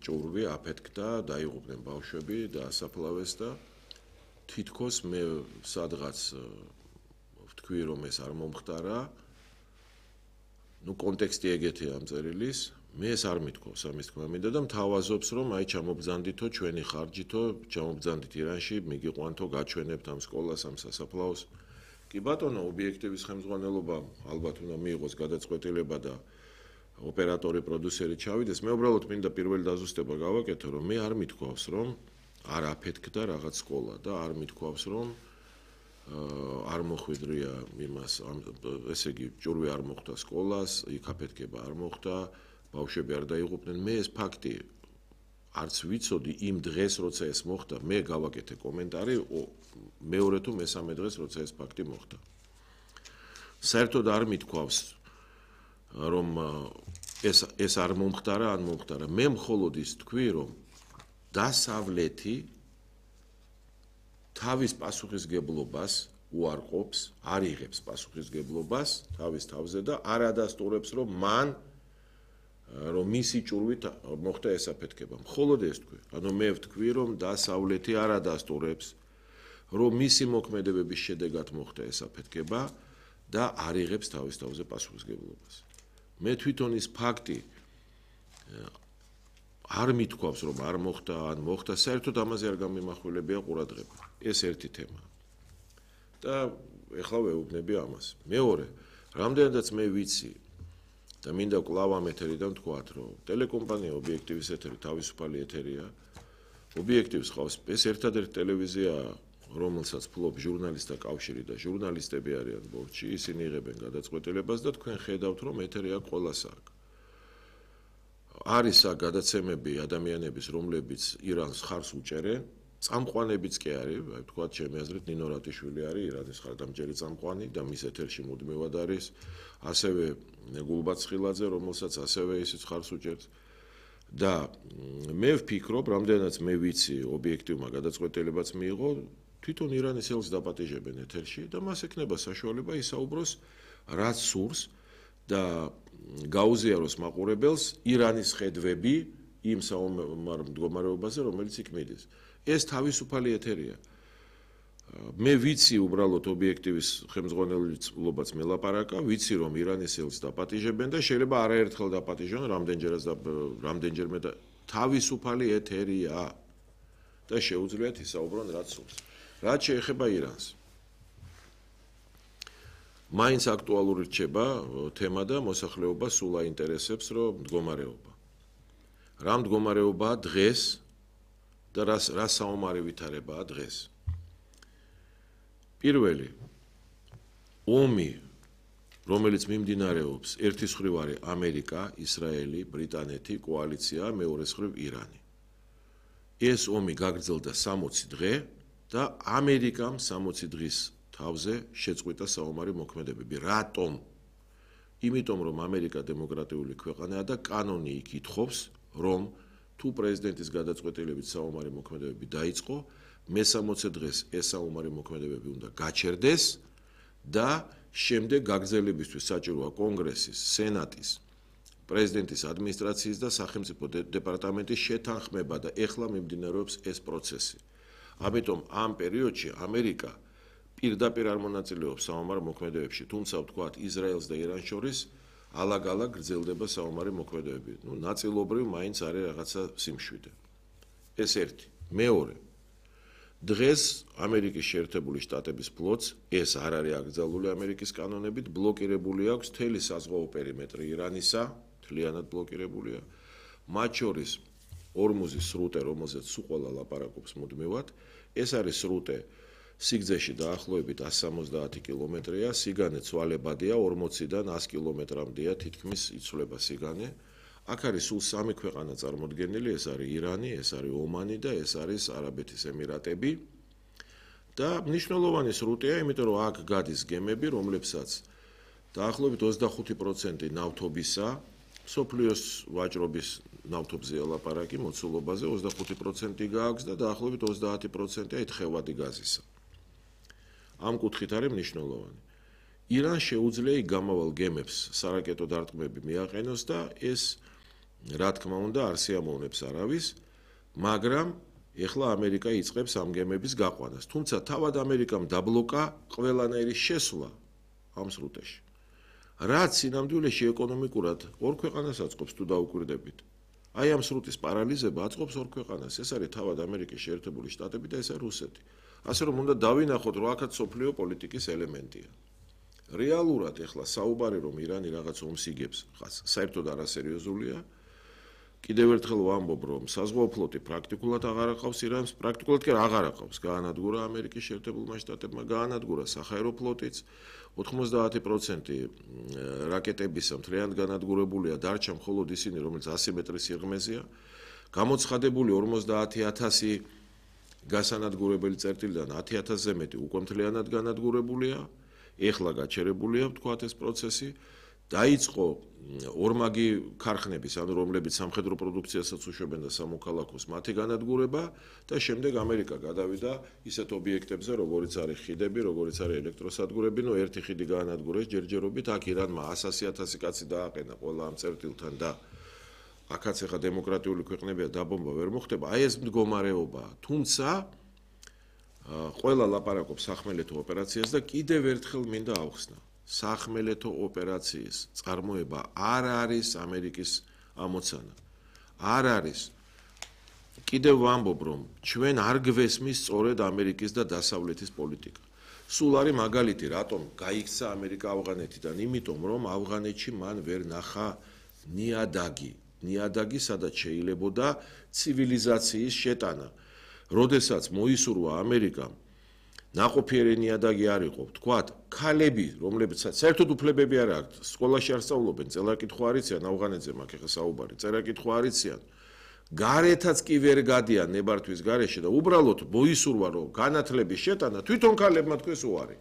ჭურვი აფეთქდა, დაიღუპნენ ბავშვები და ასაფლავეს და თითქოს მე სადღაც ვთქვი რომ ეს არ მომხდარა. კონტექსტი ეგეთია ამ წერილის. მე ეს არ მithქვავს ამის თქმა მინდა და მთავაზობს რომ აი ჩამობძანდითო ჩვენი ხარჯითო ჩამობძანდით ირანში მიგიყვანთო გაჩვენებთ ამ სკოლას ამ სასაფლაოს. კი ბატონო ობიექტივის ხელმძღვანელობა ალბათ უნდა მიიღოს გადაწყვეტილება და ოპერატორი პროდიუსერი ჩავიდეს. მე უბრალოდ მინდა პირველი დაზუსტება გავაკეთო რომ მე არ მithქვავს რომ არ აფეთქდა რაღაც სკოლა და არ მithქვავს რომ არ მოხვედრია იმას ესე იგი ჭურვი არ მოხვდა სკოლას, იქ აფეთქება არ მოხდა, ბავშვები არ დაიღუპნენ. მე ეს ფაქტი არც ვიცოდი იმ დღეს როცა ეს მოხდა, მე გავაკეთე კომენტარი მეორე თუ მესამე დღეს როცა ეს ფაქტი მოხდა. საერთოდ არ მithქვავს რომ ეს არ მომხდარა, ან მომხდარა. მე მხოლოდ ის თქვი რომ დასავლეთი თავის პასუხისგებლობას უარყოფს, არ იღებს პასუხისგებლობას თავის თავზე და არ ადასტურებს რომ მან რომ მისი ჭურვით მოხდა ეს აფეთქება. მხოლოდ ეს თქვი. ანუ მე ვთქვი რომ დასავლეთი არ ადასტურებს რომ მისი მოქმედებების შედეგად მოხდა ეს აფეთქება და არ იღებს თავის თავზე პასუხისგებლობას. მე თვითონ ის ფაქტი არ მithქვავს რომ არ მოხდა ან მოხდა, საერთოდ ამაზე არ გამიმახვილებია ყურადღება. ეს ერთი თემა. და ეხლა ვეუბნები ამას. მეორე, რამდენადაც მე ვიცი და მინდა კვლავ ამ ეთერიდან ვთქვათ, რომ ტელეკომპანია ობიექტივის ეთერი თავისუფალი ეთერია. ობიექტივს ხავს ეს ერთადერთი ტელევიზია, რომელსაც ფლობს ჟურნალისტთა კავშირი და ჟურნალისტები არიან ბორცში, ისინი იღებენ გადაწყვეტილებას და თქვენ ხედავთ, რომ ეთერი აქ ყველას აქვს. არის აქ გადაცემები ადამიანების, რომლებიც ირანს ხარს უჭერენ, წამყვანებიც კი არის, აი ვთქვათ, ჩემი აზრით ნინო რატიშვილი არის ირანის ხარდამჭერი წამყვანი და მის ეთერში მუდმივად არის, ასევე გულბად ცხილაძე, რომელსაც ასევე ისიც ხარს უჭერს. და მე ვფიქრობ, რამდენადაც მე ვიცი, ობიექტივმა გადაწყვეტილებაც მიიღო, თვითონ ირანის ელს დაპატიჟებენ ეთერში და მას ექნება საშუალება ისაუბროს რაც სურს და გაუზიაროს მაყურებელს ირანის ხედვები იმ საომარ მდგომარეობაზე, რომელიც იქ მიდის. ეს თავისუფალი ეთერია. მე ვიცი უბრალოდ ობიექტივის ხელმძღვანელობაც მელაპარაკა, ვიცი რომ ირანის ელს დაპატიჟებენ და შეიძლება არაერთხელ დაპატიჟონ, რამდენჯერმე და თავისუფალი ეთერია და შეუძლიათ ისაუბრონ რაც სურს. რაც შეეხება ირანს. მაინც აქტუალური რჩება თემა და მოსახლეობა სულ აინტერესებს რომ მდგომარეობა. რა მდგომარეობაა დღეს და რა საომარი ვითარებაა დღეს. პირველი ომი, რომელიც მიმდინარეობს, ერთის მხრივ არის ამერიკა, ისრაელი, ბრიტანეთი, კოალიცია, მეორეს მხრივ ირანი. ეს ომი გაგრძელდა 60 დღე და ამერიკამ 60 დღის თავზე შეწყვიტა საომარი მოქმედებები. რატომ? იმიტომ რომ ამერიკა დემოკრატიული ქვეყანაა და კანონი იქ ითხოვს, რომ თუ პრეზიდენტის გადაწყვეტილებით საომარი მოქმედებები დაიწყო, მე-60 დღეს ეს საომარი მოქმედებები უნდა გაჩერდეს და შემდეგ გაგრძელებისთვის საჭიროა კონგრესის, სენატის, პრეზიდენტის ადმინისტრაციის და სახელმწიფო დეპარტამენტის შეთანხმება და ეხლა მიმდინარეობს ეს პროცესი. ამიტომ ამ პერიოდში ამერიკა პირდაპირ არ მონაწილეობს საომარ მოქმედებებში, თუმცა ვთქვათ ისრაელს და ირანს შორის ალაგ-ალაგ გრძელდება საომარი მოქმედებები. ნაწილობრივ მაინც არის რაღაცა სიმშვიდე. ეს ერთი. მეორე. დღეს ამერიკის შეერთებული შტატების ფლოტს ეს არ არის აკრძალული ამერიკის კანონებით, ბლოკირებული აქვს მთელი საზღვაო პერიმეტრი ირანისა, მთლიანად ბლოკირებულია. მათ შორის ორმუზის სრუტე, რომელზეც სულ ყველა ლაპარაკობს მუდმივად, ეს არის სრუტე სიგრძეში დაახლოებით 170 კილომეტრია, სიგანე ცვალებადია 40-დან 100 კილომეტრამდეა თითქმის იცვლება სიგანე. აქ არის სულ 3 ქვეყანა წარმოდგენილი, ეს არის ირანი, ეს არის ომანი და ეს არის არაბეთის ემირატები. და მნიშვნელოვანი სრუტეა, იმიტომ რომ აქ გადის გემები, რომლებსაც დაახლოებით 25% ნავთობისა, მსოფლიოს ვაჭრობის ნავთობზეა ლაპარაკი, მოცულობაზე 25% გააქვს და დაახლოებით 30%-ია თხევადი გაზისა. ამ კუთხით არის მნიშვნელოვანი. ირანს შეუძლია გამავალ გემებს სარაკეტო დარტყმები მიაყენოს და ეს რა თქმა უნდა არ სიამოვნებს არავის, მაგრამ ეხლა ამერიკა იწყებს ამ გემების გაყვანას. თუმცა თავად ამერიკამ დაბლოკა ყველანაირი შესვლა ამ სრუტეში. რაც სინამდვილეში ეკონომიკურად ორ ქვეყანას აწყობს თუ დაუკვირდებით. აი ამ სრუტის პარალიზება აწყობს ორ ქვეყანას. ეს არის თავად ამერიკის შეერთებული შტატები და ეს არის რუსეთი. ასე რომ უნდა დავინახოთ, რომ აქაც სოფლიო პოლიტიკის ელემენტია. რეალურად ეხლა საუბარი რომ ირანი რაღაც ომს იგებს, საერთოდ არასერიოზულია. კიდევ ერთხელ ვამბობ, რომ საზღვაო ფლოტი პრაქტიკულად აღარ აყავს ირანს, პრაქტიკულად კი აღარ აყავს. გაანადგურა ამერიკის შეერთებულმა შტატებმა, გაანადგურა სახაერო ფლოტიც, 90% რაკეტებისა მთლიანად განადგურებულია, დარჩა მხოლოდ ისინი, რომელიც 100 მეტრის სიღრმეზეა. გამოცხადებული 50,000 გასანადგურებელი წერტილიდან 10,000-ზე მეტი უკვე მთლიანად განადგურებულია. ეხლა გაჩერებულია ვთქვათ ეს პროცესი. დაიწყო ორმაგი ქარხნების, ანუ რომლებიც სამხედრო პროდუქციასაც უშვებენ და სამოქალაქოს, მათი განადგურება და შემდეგ ამერიკა გადავიდა ისეთ ობიექტებზე, როგორიც არის ხიდები, როგორიც არის ელექტროსადგურები, ერთი ხიდი გაანადგურეს ჯერჯერობით, აქ ირანმა 100,000 კაცი დააყენა ყველა ამ წერტილთან და აქაც ახლა დემოკრატიული ქვეყნებია დაბომბა ვერ მოხდება, აი ეს მდგომარეობა. თუმცა ყველა ლაპარაკობს სახმელეთო ოპერაციას და კიდევ ერთხელ მინდა ავხსნა. სახმელეთო ოპერაციის წარმოება არ არის ამერიკის ამოცანა. არ არის. კიდევ ვამბობ, რომ ჩვენ არ გვესმის სწორედ ამერიკის და დასავლეთის პოლიტიკა. სულ არის მაგალითი, რატომ გაიქცა ამერიკა ავღანეთიდან, იმიტომ რომ ავღანეთში მან ვერ ნახა ნიადაგი, სადაც შეიძლებოდა ცივილიზაციის შეტანა. როდესაც მოისურვა ამერიკამ ნაყოფიერი ნიადაგი არ იყო, ვთქვათ, ქალები, რომლებსაც საერთოდ უფლებები არ აქვთ, სკოლაში არ სწავლობენ, წერა-კითხვა არ იციან, ავღანეთზე მაქვს ახლა საუბარი, წერა-კითხვა არ იციან. გარეთაც კი ვერ გადიან ნებართვის გარეშე და უბრალოდ მოისურვა, რომ განათლების შეტანა თვითონ ქალებმა თქვეს უარი.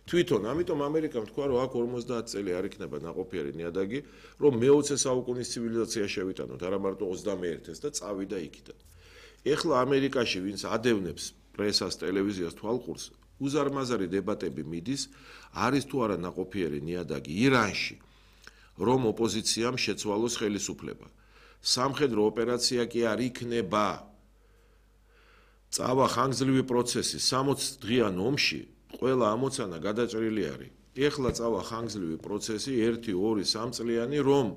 თვითონ, ამიტომ ამერიკამ თქვა, რომ აქ 50 წელი არ იქნება ნაყოფიერი ნიადაგი, რომ მე-20 საუკუნის ცივილიზაცია შევიტანოთ, არა მარტო 21-ს და წავიდა იქიდან. ეხლა ამერიკაში ვინც ადევნებს პრესას, ტელევიზიას თვალყურს, უზარმაზარი დებატები მიდის, არის თუ არა ნაყოფიერი ნიადაგი ირანში, რომ ოპოზიციამ შეცვალოს ხელისუფლება. სამხედრო ოპერაცია კი არ იქნება. წავა ხანგრძლივი პროცესი 60 დღიან ომში, ყველა ამოცანა გადაჭრილი არის. ეხლა წავა ხანგრძლივი პროცესი 1-2-3 წლიანი, რომ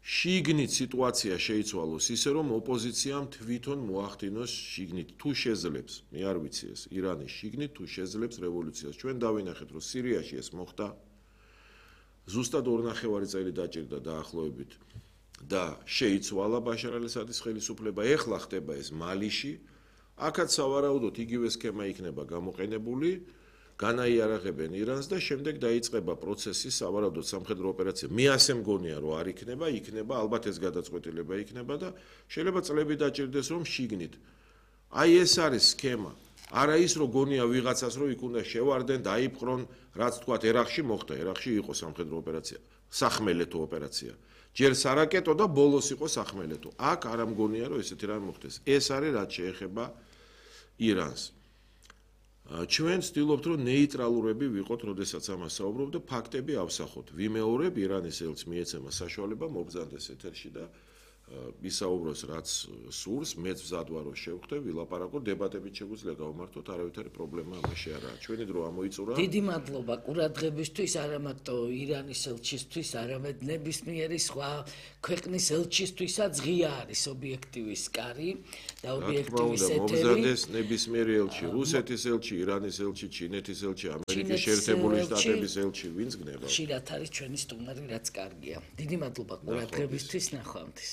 შიგნით სიტუაცია შეიცვალოს ისე, რომ ოპოზიციამ თვითონ მოახდინოს შიგნით თუ შეძლებს, მე არ ვიცი ეს, ირანის შიგნით თუ შეძლებს რევოლუციას. ჩვენ დავინახეთ, რომ სირიაში ეს მოხდა. ზუსტად 2.5 წელი დაჭირდა დაახლოებით და შეიცვალა ბაშარ ალ-ასადის ხელისუფლება. ეხლა ხდება ეს მალიში. აქაც სავარაუდოდ იგივე სქემა იქნება გამოყენებული. განაიარაღებენ ირანს და შემდეგ დაიწყება პროცესი სავარაუდოდ სამხედრო ოპერაცია. მე ასე მგონია, რომ არ იქნება, იქნება, ალბათ ეს გადაწყვეტილება იქნება და შეიძლება წლები დაჭირდეს, რომ შიგნით. აი ეს არის სქემა. არა ის, რომ გონია ვიღაცას, რომ იქ უნდა შევარდენ, დაიპყრონ, რაც თქვათ ერაყში მოხდა, ერაყში იყო სამხედრო ოპერაცია, სახმელეთო ოპერაცია. ჯერ სარაკეტო და ბოლოს იყო სახმელეთო. აქ არ მგონია, რომ ესეთი რამე მოხდეს. ეს არის რაც შეეხება ირანს. ჩვენ ვცდილობთ, რომ ნეიტრალურები ვიყოთ, როდესაც ამას საუბრობ და ფაქტები ავსახოთ. ვიმეორებ, ირანის ელჩს მიეცემა საშუალება მოგზავნდეს ეთერში და ისაუბროს, რაც სურს, მეც მზად ვარ, რომ შევხვდე, ვილაპარაკოთ, დებატებით შეგვიძლია გავმართოთ, არავითარი პრობლემა ამაში არ არის. ჩვენი დრო ამოიწურა. დიდი მადლობა ყურადღებისთვის, არა მარტო ირანის ელჩისთვის, არამედ ნებისმიერი სხვა ქვეყნის ელჩისთვისაც ღია არის ობიექტივის კარი და ობიექტივის ეთერი. მოგზავნდეს ნებისმიერი ელჩი, რუსეთის ელჩი, ირანის ელჩი, ჩინეთის ელჩი, ამერიკის შეერთებული შტატების ელჩი, ვინც გნება. ხშირად არის ჩვენი სტუმარი, რაც კარგია. დიდი მადლობა ყურადღებისთვის, ნახვამდის.